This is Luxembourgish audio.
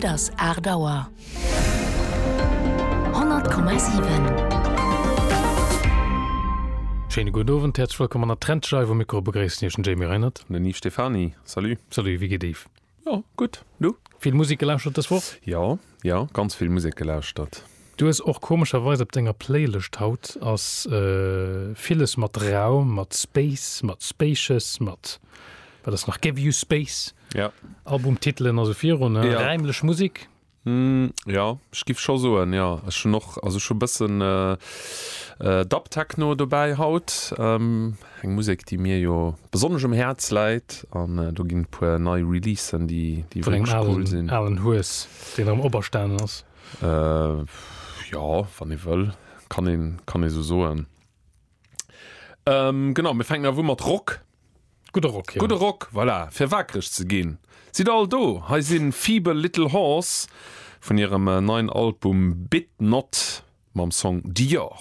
Et ass 8 Auer. 100,7. Schéine gudden Owend, häerzlech wëllkomm an der Trendscheif. Um Mikro begréissen Iech den Jamie Reinert. An den Yves Stephany. Salut. Salut, wéi geet Yves? Jo, gutt. Du? Vill Musek gelauschtert dës Woch? Jo, jo, ganz vill Musek gelauschtert. Du hues och komescherweis op denger Playlëscht haut ass villes mat Raum, mat Space, mat Spacious, mat wat ass nach, Give You Space, Ja. Albumtitelen a sou virun, Ja. räimlech Musek. Jo, ech giff scho soen, jo. Ech hunn och, also ech hu bëssen Dub Techno dobäi haut, eng Musek déi mir jo besonnesch um Häerz läit an do ginn e puer nei Releasen déi déi Vun engem wierklech cool alen, sinn. alen Hues, deen erëm operstanen ass. Jo, wann ee wëll, kann een, kann ee sou soen. Genau, mir fänken awer u mat Rock. Gudde Rock, jo. Gudde Rock, voilà, fir waakreg ze ginn. Sidd all do, hei si Feeble Little Horse vun hirem neien Album Bit Not mam Song Dior.